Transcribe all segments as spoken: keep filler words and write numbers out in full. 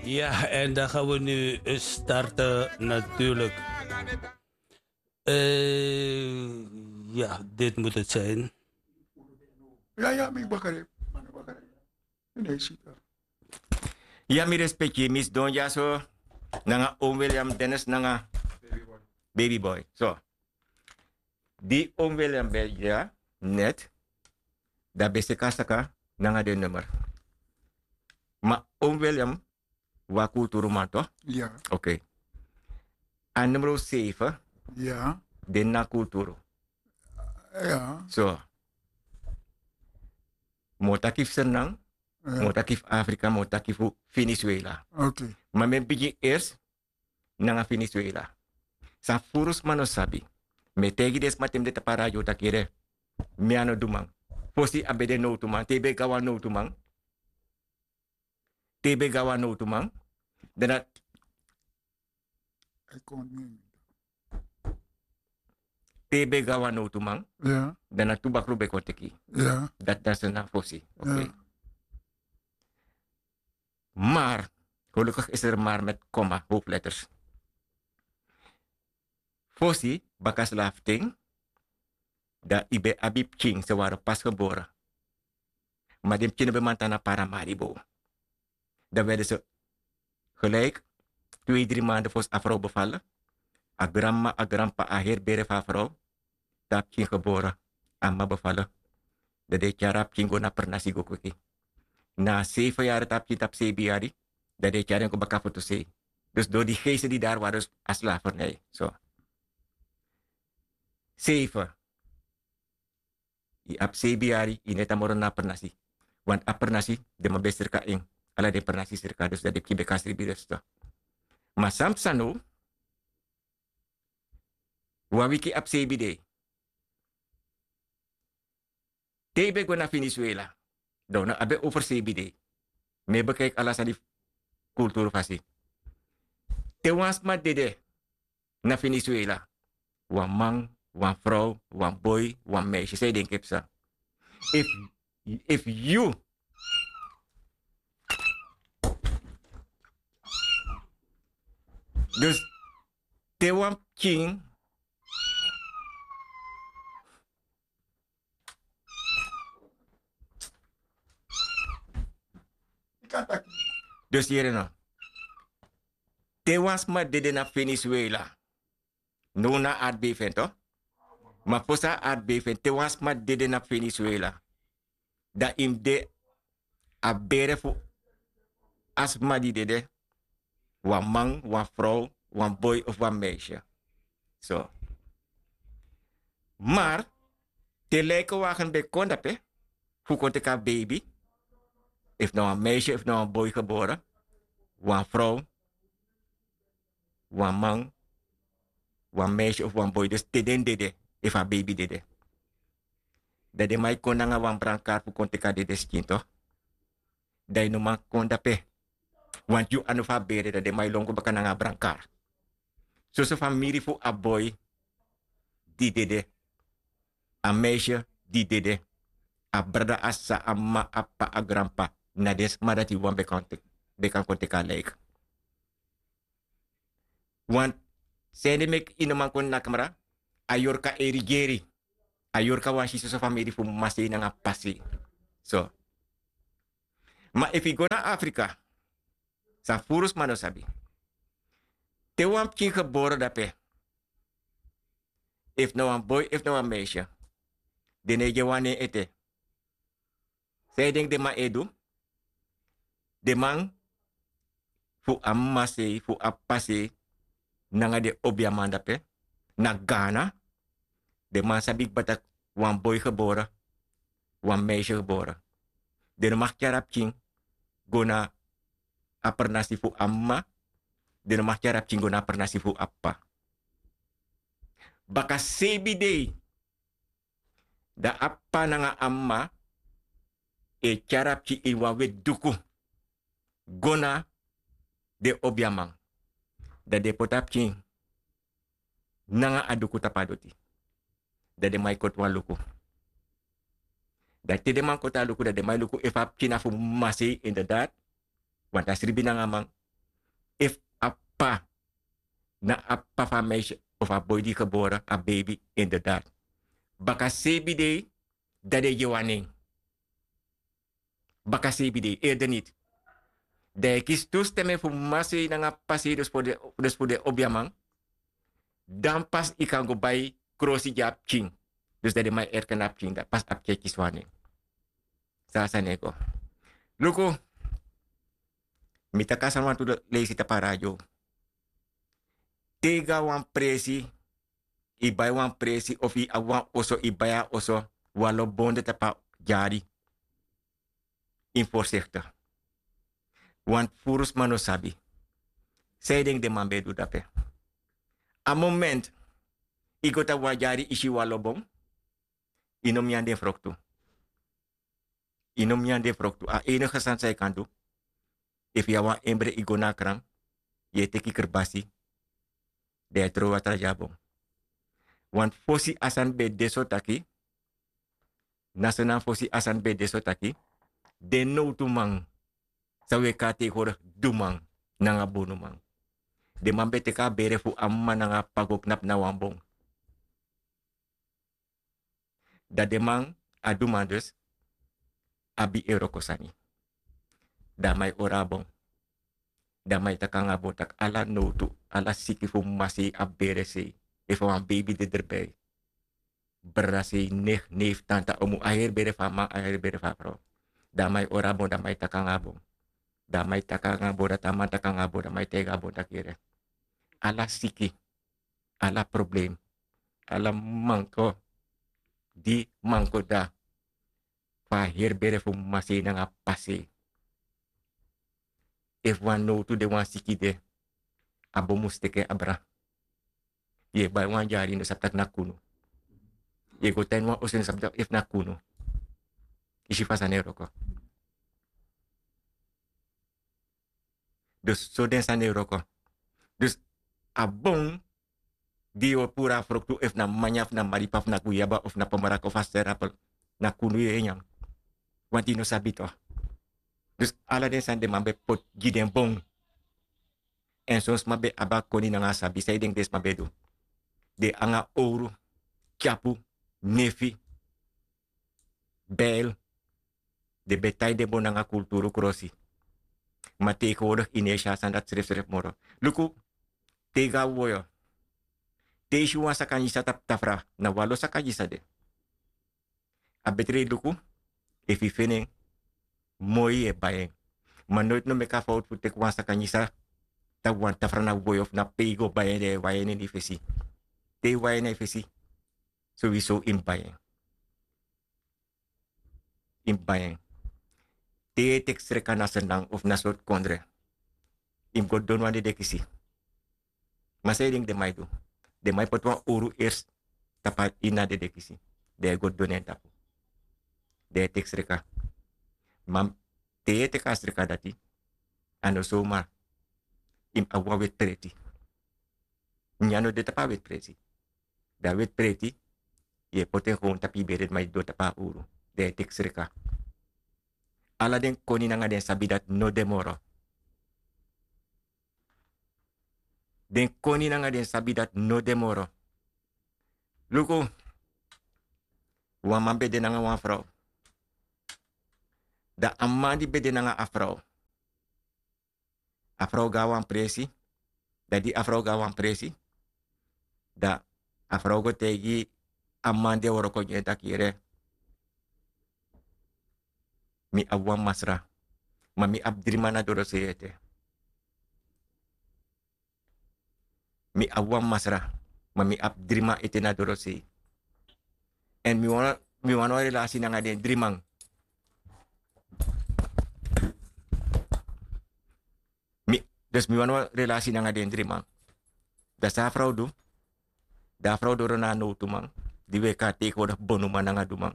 Ja, en dan gaan we nu starten natuurlijk. Eh, ja, dit moet het zijn. Ya, ya, mi bakari. Mano bakari. Ini isi. Ya, mi respeki, mi sidon dyaso. Nanga Oom William Dennis nanga Baby Boy. So. Di Oom William ben dya net, dan ben seki a saka nanga den nummer. Ma Oom William, wan kulturuman toch? Ya. Oké. A nummer zeven, ya, den na kulturu. Ya. So. Mi o taki fu Sranan, ya, mi o taki fu Afrika, mi o taki fu Venezuela. Oké. Ma mi e bigin eerst nanga Venezuela. San furu sma no sabi. Mi e taigi den sma te mi de tapu a radio taki yere, mi a no du man. Fosi a ben de nowtuman, te yu ben go na wan nowtuman. Te yu ben go na wan nowtuman. Dan na, te yu ben go na wan nowtuman. Ya. Dan na tu bakru ben kon teki. Ya. Dati na Sranan fosi. Oké. Ya. Maar, gelukkig is er maar met komma, hoofdletters. Fosi, baka slaaf ten, dan yu ben abi pikin, ze waren pas geboren. Ma den pikin no ben man tan na Paramaribo. Dan werden ze gelijk twee, drie maanden fosi a vrouw bevallen. A granma, a granpa, a heri bere fu a vrouw. Te a pikin geboren, a mama bevallen. Dan den e tyari a pikin go na pernasi go kweki. Na zeven yari te a pikin tapu zeven yari, dan den e tyari en go baka fu tu sei. Dus door die geesten die daar waren, dus a slavernij. So. Zeven. Yu abi zeven yari, yu no e tan moro na pernasi. Want a pernasi, den man ben srika en. Ala den pernasi srika, dus dan den pikin ben kan sribi dus. Ma san psa now, wan wiki abi seibin dei. Te yu ben go na Venezuela, dan unu abi over seibin dei. Mi e bekijk ala sani kulturu fasi. Te wan sma dede na Venezuela, wan man, wan vrouw, wan boy, wan meisje, san yu denki e psa? Efu, efu yu, dus te wan pikin, dus yere no. Te wan sma dede na Venezuela, now na aardbeving toch? Ma fosi a aardbeving, te wan sma dede na Venezuela, dan yu mus de a bere fu a sma di dede, wan man, wan vrouw, wan boy of wan meisje. So. Maar te lijkenwagen ben kon dape fu kon teki a baby, efu na wan meisje, efu na wan boy geboren, wan vrouw, wan man, wan meisje of wan boy, dus te den dede, efu a baby dede, dan den man e kon nanga wan brankar fu kon teki a dede skin toch. Dan yu no man kon dape. Want yu a no fu a bere, dan den man e lon go baka nanga a brankar. Soso famiri fu a boy di dede, a meisje di dede, a brada, a sisa, a mama, a p'pa, a granp'pa, na den sma dati wan ben kan tek-, ben kan kon teki a lijk. Want san ede meki yu no man kon na kamra, a yorka e rigeri. A yorka wani si soso famiri fu masei nanga pasei. So. Ma efu yu go na Afrika, san furu sma no sabi. Te wan pikin gebore dape, efu na wan boy, efu na wan meisje, den no e gi en wan nen ete. San yu denki den man e du? Den man fu a mama sei, fu a p'pa sei, nanga den obiaman dape, na Ghana, den man sabi kba taki wan boy gebore, wan meisje gebore. Den no mag tyari a pikin go na a pernasi fu a mama, den no mag tyari a pikin go na a pernasi fu a p'pa. Baka seibin dei, dan a p'pa nanga a mama e tyari a pikin ini wan weti duku go na den obiaman. Dan den poti a pikin nanga a duku tapu a doti. Dan den man e koti wan luku. Dan te den man koti a luku, dan den man e luku efu a pikin na fu mama sei inderdaad. Want a sribi nanga a man, p'pa, na a p'pa fu a meisye of a boi di gebore, a beibi, inderdaad. Baka sebi dei, dan den gi en wan nen. Baka sebi dei, eerder niti. Dan yu e kisi tu stem fu mama sei nanga p'pa sei, dus fu den, dus fu den obiaman. Dan pas yu kan go bai krosi gi a pikin. Dus dan den man e erken a pikin, dan pas a pikin e kisi wan nen. San a sani e go. Luku, mi taki a sani wantu leisi tapu a radio. Te yu go na wan presi, yu bai wan presi of yu abi wan oso, yu bai a oso, wan lo bon de tapu a dyari. Yu mus voorzichtig. Want furu sma no sabi. San yu denki den man ben e du dape? A moment yu go tapu wan dyari, yu si wan lo bon, yu no mus nyan den froktu. Yu no mus nyan den froktu. A enige sani san yu kan du, efu yu abi wan embre, yu go na a kran, yu e teki krabasi, dan yu e trowe watra gi a bon. Want fosi a sani ben de so taki, na so na fosi a sani ben de so taki, den nowtuman san wi e kon a tegenwoordig duman nanga bonuman. Den man ben teki a bere fu a mama nanga a p'pa go knapu na wan bon. Dan den man, a duman dus, abi en wroko sani. Dan a man e ori a bon. Dan a man e taki nanga a bon taki ala nowtu, ala siki fu mama sei, a bere sei, efu a wan beibi de derbij, brada sei, neef, neef, tanta, omu, a heri bere fu a man, a heri bere fu a frow. Dan a man e ori a bon, dan a man e taki nanga a bon. Dan a man e taki nanga a bon, dati a man taki nanga a bon, dan a man e taigi a bon taki yere. Ala siki, ala problem, ala manko di manko de fu a heri bere fu mama sei nanga p'pa sei. Efu wan nowtu de, wan siki de, a bon mus teki en abra. Yu e bai wan dyari, yu no sabi taki na kunu. Yu e go tan ini wan oso, yu no sabi taki efu na kunu. Yu si fa sani e wroko. Dus so den sani e wroko. Dus a bon di yu o puru a froktu, efu na manya, efu na maripa, efu na guyaba, efu na pomoraka, efu a sterapel, na kunu yu e nyan. Want yu no sabi toch. Dus ala den sani den man ben poti gi den bon. Èn son sma ben abi a koni nanga a sabi. San yu denki den sma ben du? Den anga owru, tyapu, nefi, bijl, den ben tai den bon nanga kulturu krosi. Ma tegenwoordig yu no e si a sani dati srefsrefi moro. Luku, te yu go na woyo, te yu si wan saka nyisa tapu tafra, na wan lo saka nyisa de. A betre yu luku efu yu feni en, moi yu e bai en. Ma noiti no meki a fowtu fu teki wan saka nyisa tapu wan tafra na woyo fu na pe yu go bai en, dan yu e wai en na yu fesi. Te yu wai en na yu fesi, sowieso yu mus bai en. Yu mus bai en. Te yu e teki sreka na Sranan of na sortu kondre, yu mus go donu wan dedekisi. Ma san yu denki den man e du? Den man e poti wan owru eerst tapu ini a dedekisi. Dan yu e go donu en tapu. Dan yu e teki sreka. Ma te yu e teki a sreka dati, a no somar. Yu mus abi wan weti preti. Nyan no de tapu a weti preti. Dan a weti preti, yu e poti en gewoon tapu yu bere, ma yu doro tapu a owru. Dan yu e teki sreka. Ala den koni nanga den sabi dati no de moro. Den koni nanga den sabi dati no de moro. Luku, wan man ben de nanga wan frow. Dan a man di ben de nanga a frow, a frow go na wan presi. Dan di a frow go na wan presi, dan a frow go taigi a man di e wroko gi en taki: Yere, mi abi wan masra, ma mi abi dri man na dorosei ete. Mi abi wan masra, ma mi abi dri man ete na dorosei. Èn mi wani, mi wani wan relasi nanga den dri man. Mi, dus mi wani wan relasi nanga den dri man. Dan san a frow du? Dan a frow doro na a nowtuman, di wi e kon a tegenwoordig bonuman nanga duman.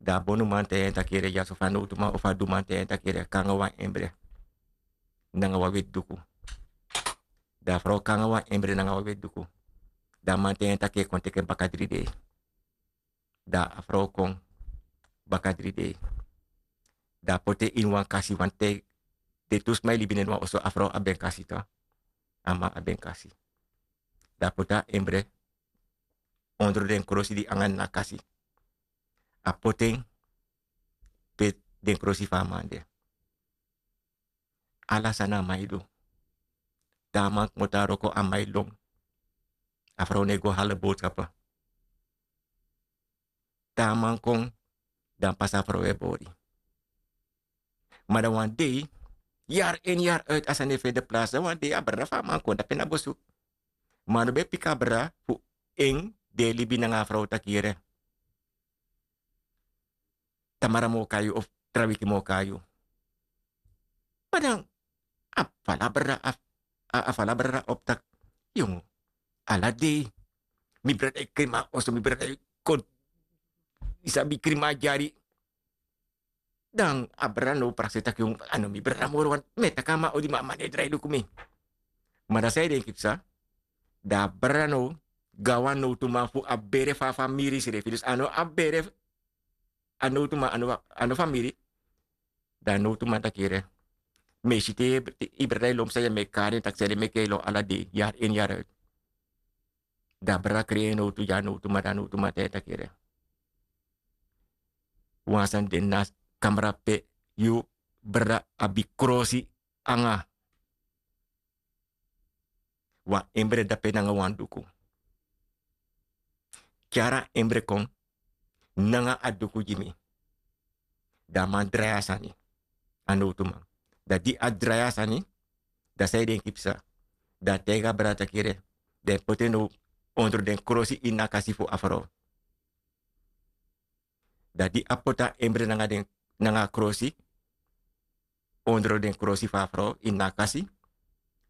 Dan a bonuman taigi en taki: Yere, ya so fa a nowtuman of a duman taigi en taki: Yere, kon nanga wan embre nanga wan weti duku. Dan a frow kon nanga wan embre nanga wan weti duku. Dan a man taigi en taki e kon teki en baka dri dei. Dan a frow kon baka dri dei. Dan a poti en ini wan kasi, want te den tu sma e libi na ini wan oso, a frow abi en kasi tu. A man abi en kasi. Dan a poti a embre ondro den krosi di anga na kasi. A poti en pe den krosi fu a man de. Ala sani a man e du. Te a man kmoto a wroko a man e lon. A frow no e go hali bowtkapu. Te a man kon, dan pasi a frow e bori. Ma dan wan dei, yari en yari uit a sani e feni plasi, dan wan dei a brada fu a man kon dape na bosu. Ma a no ben piki a brada fu en di e libi nanga a frow taki yere, tamara mi o kai yu of tra wiki mi o kai yu. Ma dan a fala brada, a fala brada opu taki, yongu, ala dei mi brada e krima oso, mi brada e kon, yu sabi, krima dyari. Dan a brada now prakseri taki, yongu, a no mi brada moro, want mi e taki a man odi, ma a man no e drai luku mi. Ma dan san yu denki psa? Dan a brada now go na wan nowtuman fu a bere fu a famiri srefi. Dus a no a bere, a nowtuman a no famiri. Dan a nowtuman taki yere, mi e si te yu brada e lon psa, yu e meki kari en taki sede meki yu e lon ala dei, yari en yari uit. Dan a brada krei en nowtu gi a nowtuman, dan a nowtuman taigi en taki yere, wan sani de na kamra pe yu brada abi krosi anga wan embre dape nanga wan duku. Tyari a embre kon nanga a duku gi mi. Dan a man drai a sani, a nowtuman. Dan di a drai a sani, dan san yu denki psa? Dan a taigi a brada taki yere, den poti en now ondro den krosi ini a kasi fu a frow. Dan di a poti a embre nanga den, nanga a krosi, ondro den krosi fu a frow ini a kasi,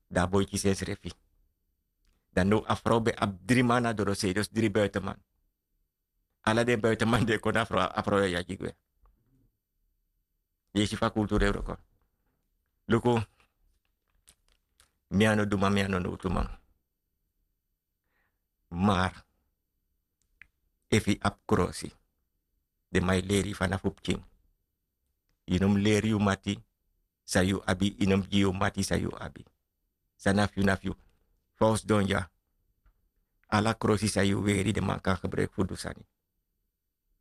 dan a boi kisi ensrefi. Dan now a frow ben abi dri man na dorosei, dus dri buitenman. Ala den buitenman di e kon na a frow, a frow e yagi gwe. Yu e si fa kulturu e wroko. Luku, mi a no duman, mi a no nowtuman. Maar efu yu abi krosi, den man e leri yu fanafu pikin. Yu no mus leri yu mati san yu abi, yu no mus gi yu mati san yu abi. San na fu yu na fu yu. Fa un sidon ya, ala krosi san yu weri den man kan gebruiki fu du sani.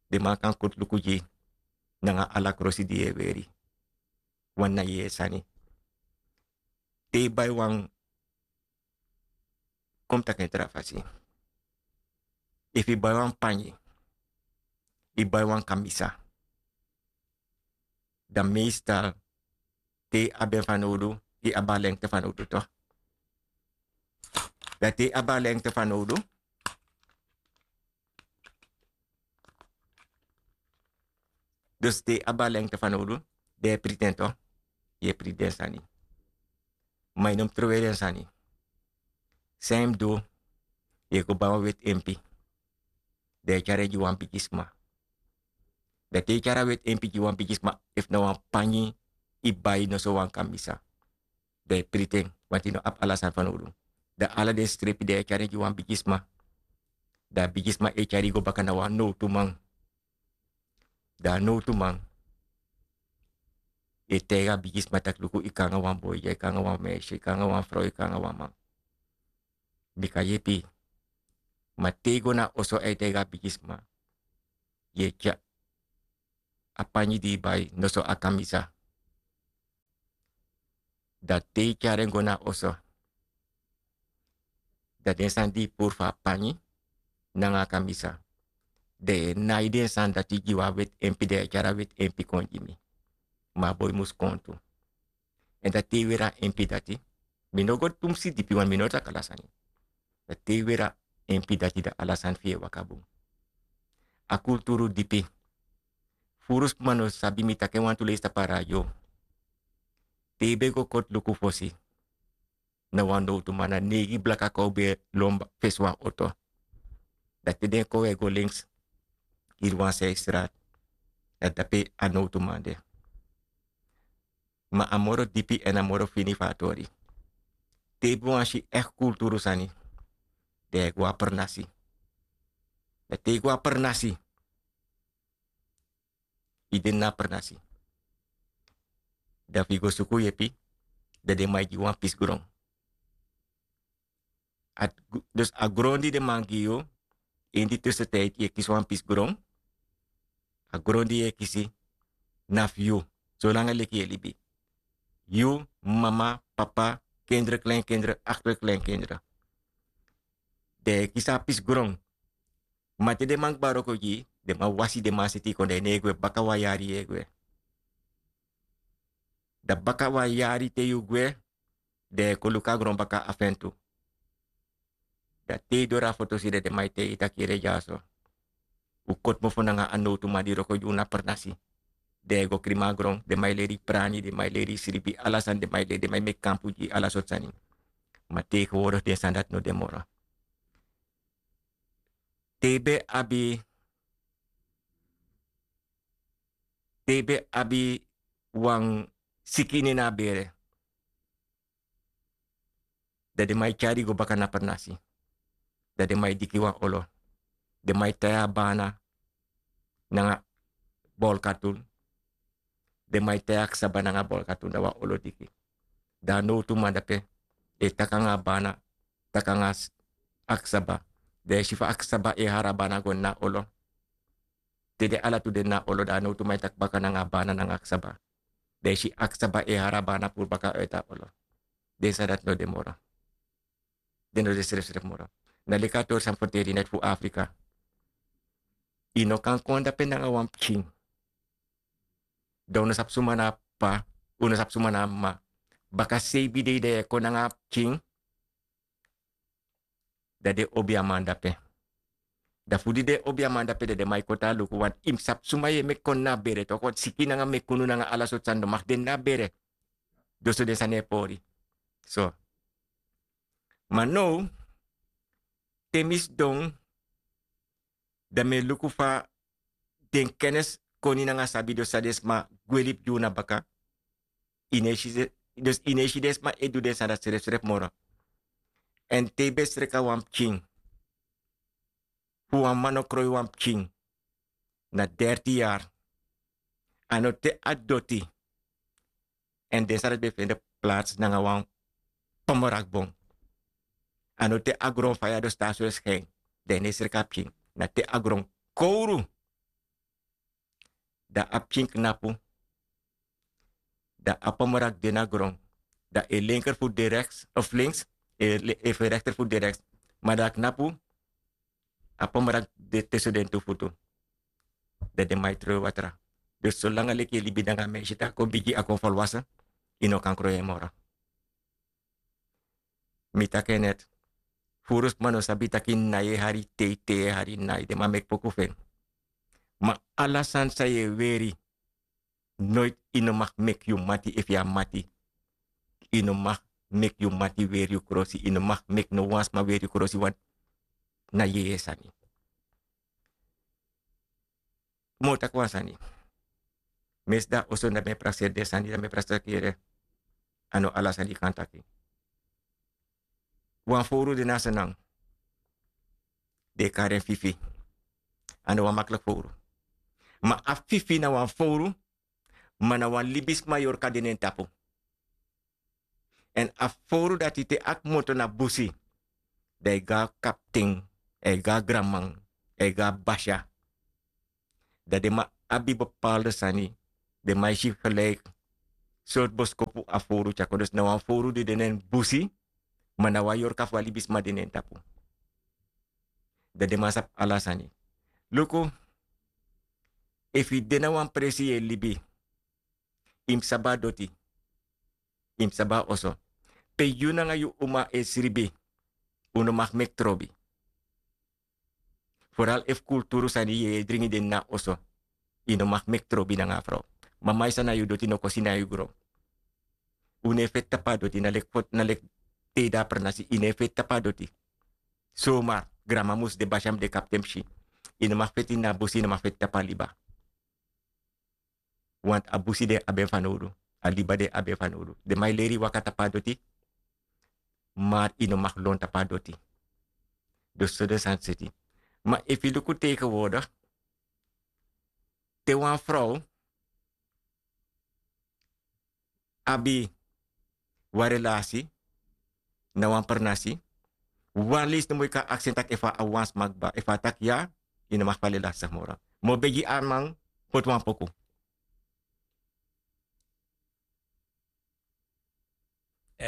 Den man kan koti luku gi yu nanga ala krosi di yu e weri. Wan na yu yeye sani. Te yu bai wan, kon mi taki en tra fasi. Efu yu bai wan panyi, yu bai wan kamisa, dan meestal te yu abi en fanowdu, yu abi a lengte fanowdu toch. Dan te yu abi a lengte fanowdu, dus te yu abi a lengte fanowdu, dan yu e priti en toch, yu e priti den sani. Ma yu no mus trowe den sani. San yu mus du, yu e go bai wan weti empi. Dan yu e tyari en gi wan bigisma. Dan te yu tyari a weti empi gi wan bigisma, efu na wan panyi yu bai, noso wan kamisa, dan yu e priti en, want yu no abi ala sani fanowdu. Dan ala den strepi dan yu e tyari en gi wan bigisma. Dan a bigisma e tyari yu go baka na wan nowtuman. Dan a nowtuman e taigi a bigisma taki luku, yu kon nanga wan boi, yu kon nanga wan meisje, yu kon nanga wan frow, yu kon nanga wan man. Mi kan yepi. Ma te yu go na oso, a e taigi a bigisma, yu e tyari a panyi di yu bai, noso a kamisa. Dan te yu tyari en go na oso, dan den sani di yu puru fu a panyi nanga a kamisa, dan yu e nai den sani dati gi wan weti empi, dan yu e tyari a weti empi kon gi mi. Ma a boi mus kon tu. Èn dan te yu weri a empi dati, mi no go tumsi dipi, want mi no taki ala sani. Dan te yu weri a empi dati, dan ala sani fu yu e waka bun. A kulturu dipi. Furu sma no sabi, mi taki en wantu leisi tapu a radio. Te yu ben go koti luku fosi, na wan nowtuman, na neigi blaka kon ben lon fesi wan oto. Dan te den kon, wi e go links, hiri wan side straat, dan dape a nowtuman de. Ma a moro dipi èn a moro fini fu a tori. Te yu ben wani si echt kulturu sani, dan yu e go a pernasi. Dan te yu go a pernasi, yu de na a pernasi. Dan fu yu go suku yepi, dan den man e gi wan pisi gron. Dus a gron di den man gi yu, ini di tusentijdi yu e kisi wan pisi gron. A gron di yu e kisi na fu yu, solanga leki yu e libi. Yu, mama, papa, kindre kleinkindre, akterkleinkindre, den e kisi a pisi gron. Ma te den man kba wroko gi yu, den man wasi den man seti yu kon dan yu no e gwe baka wan yari yu e gwe. Dan baka wan yari te yu gwe, den e kon luku a gron baka afen tu. Dan te yu doro a foto si den den man e taigi yu tak' yere dyaso, un koti mofo nanga a nowtuman di wroko gi unu na pernasi. Den e go krima a gron, den man e leri yu prani, den man e leri yu sribi ala sani, den man e leri den man e meki kampu gi yu ala sortu sani. Ma tegenwoordig den sani dati no de moro. Te yu ben abi te yu ben abi wan siki ini en na a bere, dan den man e tyari yu go baka na pernasi. Dan den man e diki wan olo. Den man e tai a bana nanga bolkatun. Den man e tai a ksaba nanga bolkatun dan wan olo diki. Dan a nowtuman dape e taki nanga a bana, taki nanga a ksaba. Dan e si fa a ksaba e hari a bana go ini a olo. Te den ala tu de na olo dan a nowtuman e taki baka nanga a bana nanga a ksaba. Dan e si a ksaba e hari a bana puru baka uiti a olo. Den sani dati no de moro. Den no de srefsref moro. Na leki a tori san ferteri neti fu afrika. Yu no kan kon dape nanga wan pikin. Dan un no sabi suma na a p'pa, un no sabi suma na a m'ma. Baka seibi dei dan yu e kon nanga a pikin. Dan den obi a man dape. Dan fu di den obi a man dape dan den man e kon tan luku wantu yu mus sabi suma yu e meki kon ini a bere toko siki nanga meki unu nanga ala sortu sani no maki de ini a bere. Dus so den sani e pori. So, ma now te mi sidon, dan mi e luku fa den kenesi koni nanga sabi dus san den sma gwe libi gi unu na baka. Yu no e si den sma e du den sani dati srefsref moro. Èn te yu ben sreka wan pikin, fu wan man no kroi wan pikin na derti yari, a no te a doti. Èn den sani dati ben fende plats nanga wan pomorakbon. A no te a gron faya dus te a soi skin, dan yu no e sreka a pikin. Na te a gron kowru, dan a pikin knapu. Dan a pomorak de na gron. Dan e lenker futu de reks of links, e fu e rekter futu de reks. Ma dan a knapu, a pomorak de tusu den tu futu. Dan den man e tron e watra. Dus solanga leki yu e libi nanga a mensi te a kon bigi a kon folwase, yu no kan kroi en moro. Mi taki en neti. Furu sma no sabi tak' yu nai e hari tei tei e hari nai den man meki poku fu en. Ma ala sani san yu e weri, noiti yu no maki meki yu mati efu yu a mati. Yu no maki meki yu mati weri yu krosi yu no maki meki no wan sma weri yu krosi wantu na yeye sani. Mi o taki wan sani. Mi e sidon na oso dan mi e prakseri den sani dan mi e prakseri kere. A no ala sani yu kan taki. Wan fowru de na a senan. Den e kari en fifi. A no wan makliki fowru. Ma a fifi na wan fowru. Ma na wan libisma yorka de na en tapu. Èn a fowru dati te a kmoto na busi, dan e go na kapten, e go na granman, e go na basya. Dan den man abi bepalde sani. Den man e si geliki sortu boskopu a fowru tyari kon dus na wan fowru di de na en busi. Ma na wan yorka fu a libisma de na en tapu. Dan den man sabi ala sani. Luku, efu yu de na wan presi yu e libi, yu mus sabi a doti. Yu mus sabi a oso. Pe yu nanga yu uma e sribi, un no maki meki trobi. Foral efu kulturu sani yu e dringi den na oso, yu no maki meki trobi nanga a frow. Mama yu san na yu doti no kosi na yu gron. Un no e feti tapu a doti na leki foti na leki, te yu de a pernasi yu no e feti tapu a doti. Somar granma mus de basi a mus de kapten psi. Yu no maki feti na a busi yu no maki feti tapu a liba. Want a busi den abi en fanowdu, a liba den abi en fanowdu. Den man e leri yu waka tapu a doti. Mar yu no maki lon tapu a doti. Dus so den sani seti. Ma efu yu luku tegenwoordig, te wan frow abi wan relasi na wan pernasi, Wan leisi no moi kan aksi en taki efu a wan sma kba, efu a taki ya, yu no maki fali lastig moro. Mi o begi arman, poti wan poku.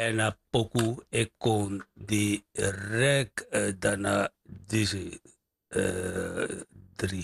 Èn a poku e kon direk, dan na disi dri.